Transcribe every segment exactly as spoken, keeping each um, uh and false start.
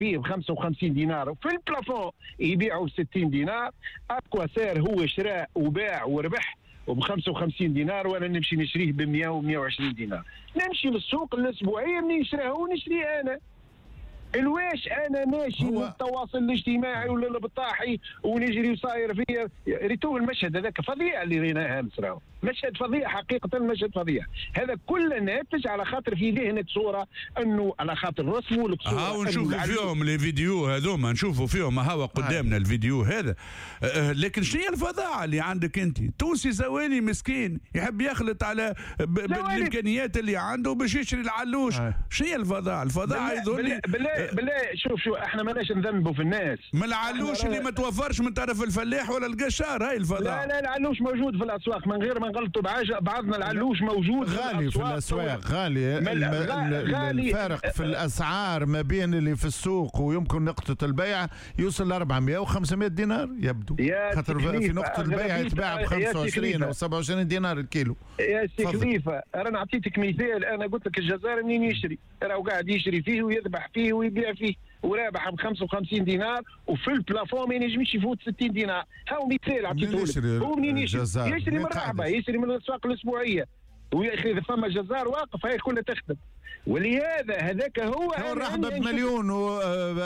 فيه ب خمسة وخمسين دينار وفي ال plafond يبيعوا ب ستين دينار. à quoi sert هو شراء وباع وربح وب خمسة وخمسين دينار، وانا نمشي نشريه ب مية و مية وعشرين دينار. نمشي للسوق الاسبوعية منين شراه ونشريه انا. الواش انا ماشي للتواصل الاجتماعي ولا البطاحي ونجري وصاير فيا. ريتو المشهد هذاك فظيع اللي ريناه امس، راهو مشهد فظيع حقيقة، مشهد فظيع. هذا كله ناتج على خاطر في ذهنك صوره انه على خاطر رسموا لك صوره. ها ونشوفوا فيهم les vidéos هذوما، نشوفوا فيهم هوا قدامنا الفيديو هذا. أه لكن شنو هي الفظاعه اللي عندك انت؟ تونسي زوالي مسكين يحب يخلط على بالامكانيات اللي عنده باش يشري العلوش. شنو هي الفظاعه؟ الفظاعه يظهر لي بالله بالله شوف شو احنا ماناش نذنبوا في الناس. ما العلوش اللي ما توفرش من طرف الفلاح ولا القشار، هاي الفظاعه. لا لا العلوش موجود في الاسواق من غير ما نغلطوا بعضنا. العلوش موجود غالي في الاسواق، غالي. غالي الفارق في الاسعار ما بين اللي في السوق ويمكن نقطة البيع يوصل ل أربعمية و خمسمية دينار يبدو، خاطر في نقطة البيع يتباع ب خمسة وعشرين او سبعة وعشرين دينار الكيلو. يا سي خليفة انا اعطيتك مثال، انا قلت لك الجزار منين يشري، راهو قاعد يشري فيه ويذبح فيه ويبيع فيه ورابح ب خمسة وخمسين دينار، وفي ال plafond ما ينجمش يفوت ستين دينار. هاو مثال عطيته لك. هو منين يشري؟ يشري من الرحبه، يشري من الاسواق الاسبوعية. ويا اخي اذا فما جزار واقف هاي كلها تخدم. ولهذا هذاك هو هو الرحبه بمليون و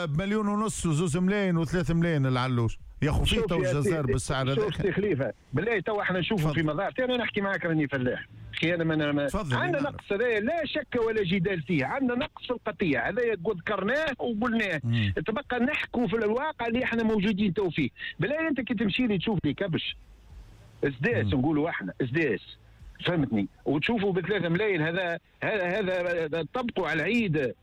بمليون ونص وزوز ملايين وثلاث ملايين العلوش يا خو فيه تو الجزار بالسعر هذاك. شوف سي خليفة بالله تو احنا نشوفوا في مظاهر. انا نحكي معك راني فلاح اخي، انا ما عندنا نقص هذايا لا شك ولا جدال فيه، عندنا نقص في القطيع هذايا ذكرناه وقلناه. تبقى نحكوا في الواقع اللي احنا موجودين تو فيه. بالله انت كي تمشي لي تشوف لي كبش اسداس نقولوا احنا اسداس فهمتني، وتشوفوا بثلاثة ملايين، هذا هذا هذا طبقوا على العيد،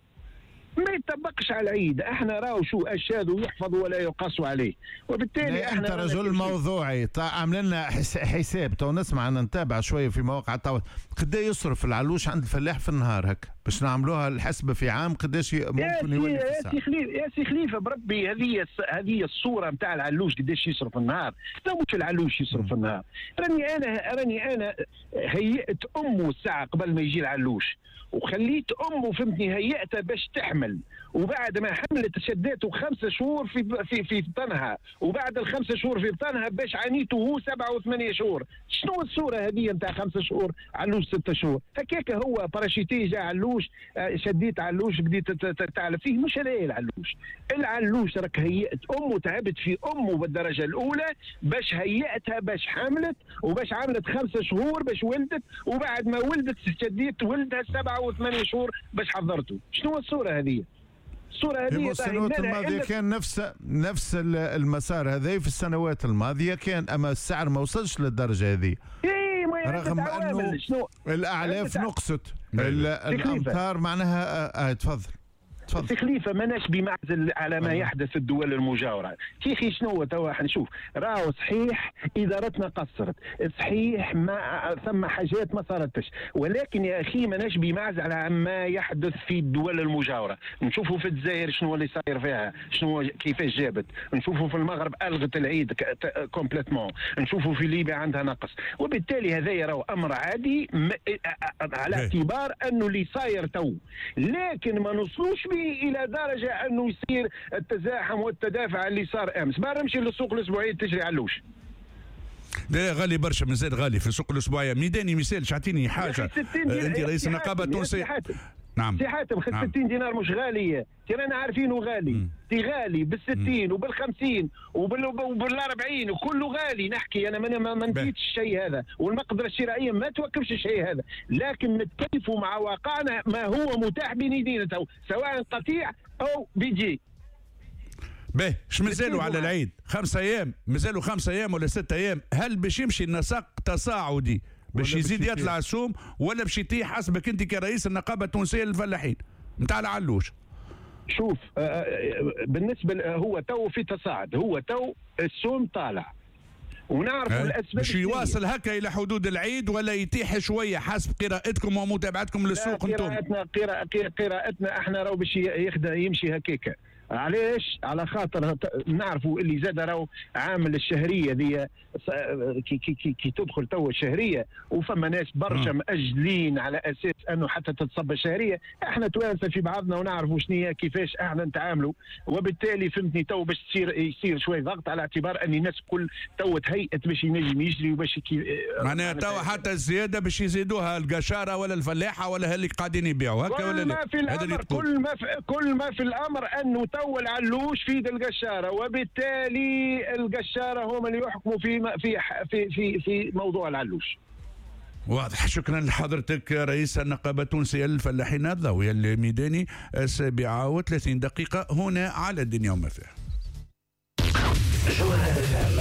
ما يطبقش على العيد. احنا راهو شو الشاذ يحفظ ولا يقاس عليه، وبالتالي احنا انت رجل موضوعي عامل لنا حساب تو نسمع نتابع شوية في مواقع التواصل قد يصرف العلوش عند الفلاح في النهار هكا باش نعملوها الحسبة في عام قداش ممكن يولي في يا سي خليفة. يا سي خليفة بربي هذه هذه الصورة نتاع العلوش قداش يصرف في النهار، لا مش العلوش يصرف في النهار. راني انا راني انا هيئت امه الساعة قبل ما يجي العلوش، وخليت امه فهمتني هيئتها باش تحمل، وبعد ما حملت شدته خمسة شهور في في في بطنها، وبعد الخمسة شهور في بطنها باش عانيته هو سبعة وثمانية شهور. شنو الصورة هذه نتاع خمسة شهور علوش ستة شهور؟ هكاك هو parachuté جا علوش، شديت علوش بديت تعلف فيه. مش هذا العلوش، العلوش راك هيئت امه، تعبت في امه بالدرجة الاولى باش هيئتها باش حملت، وباش عملت خمسة شهور باش ولدت، وبعد ما ولدت شديت ولدها سبعة وثمانية شهور باش حضرته. شنو الصورة هذه؟ الصورة هذه السنوات الماضية كان نفس نفس المسار هذا في السنوات الماضية كان، اما السعر ما وصلش للدرجة هذه. إيه رغم انه الاعلاف نقصت، الامطار معناها. آه تفضل تفضل سي خليفة، ماناش بمعزل على ما يحدث في الدول المجاورة. كيخي شنو توا حنشوف؟ راهو صحيح ادارتنا قصرت، صحيح ما ثم حاجات ما صارتش، ولكن يا اخي ماناش بمعزل على ما يحدث في الدول المجاورة. نشوفوا في الجزائر شنو اللي صاير فيها، شنو كيفاش جابت، نشوفوا في المغرب الغت العيد complètement، نشوفوا في ليبيا عندها نقص، وبالتالي هذا راهو امر عادي على اعتبار انه اللي صاير تو، لكن ما نوصلوش الى درجه انه يصير التزاحم والتدافع اللي صار امس. ما نمشي للسوق الاسبوعية تجري علوش. لا غالي برشا، مازال غالي في السوق الاسبوعية. ميداني مثال، اعطيني حاجة انت رئيس النقابة التونسية. نعم سي حاتم، نعم. ستين دينار مش غالية، ترانا عارفينه غالي، تي غالي بالستين وبالخمسين وبالأربعين وكله غالي. نحكي انا ما ما نسيتش الشيء هذا، والمقدره الشرائية ما توقفش الشيء هذا، لكن نتكيفوا مع واقعنا ما هو متاح بين يدينا تو، سواء قطيع او بيجي. باهي، اش مازالوا على العيد؟ خمسة ايام، مازالوا خمسة ايام ولا ستة ايام. هل باش يمشي النسق تصاعدي باش يزيد يطلع السوم ولا باش يطيح حسبك انت كرئيس النقابة التونسية للفلاحين نتاع العلوش؟ شوف بالنسبة هو تو في تصاعد، هو تو السوم طالع ونعرف الاسباب. باش يواصل هكا الى حدود العيد ولا يتيح شوية حسب قراءتكم ومتابعتكم للسوق انتم؟ قراءتنا قراءتنا احنا راهو باش يخدم يمشي هكاك. علاش؟ على خاطر نعرفوا اللي زاد راهو عامل الشهرية ذي كي, كي, كي, كي تدخل تو الشهرية، وفما ناس برشا مأجلين على اساس انه حتى تتصب الشهرية. احنا توانسة في بعضنا ونعرفوا شنو كيفاش احنا نتعاملوا، وبالتالي فهمتني تو باش تصير يصير شوية ضغط على اعتبار ان الناس الكل تو تهيئت باش ينجم يجري وباش كي معناها تو حتى الزيادة باش يزيدوها القشاره ولا الفلاحة ولا اللي قاعدين يبيعوا هكا ولا لا؟ في الأمر كل ما في كل ما في الامر انه تو العلوش في يد القشاره، وبالتالي القشاره هم اللي يحكموا في في في في, في موضوع العلوش. واضح. شكرا لحضرتك رئيس النقابة التونسية للفلاحين الضوئي الميداني. السابعة وثلاثين دقيقة هنا على الدنيا وما فيها.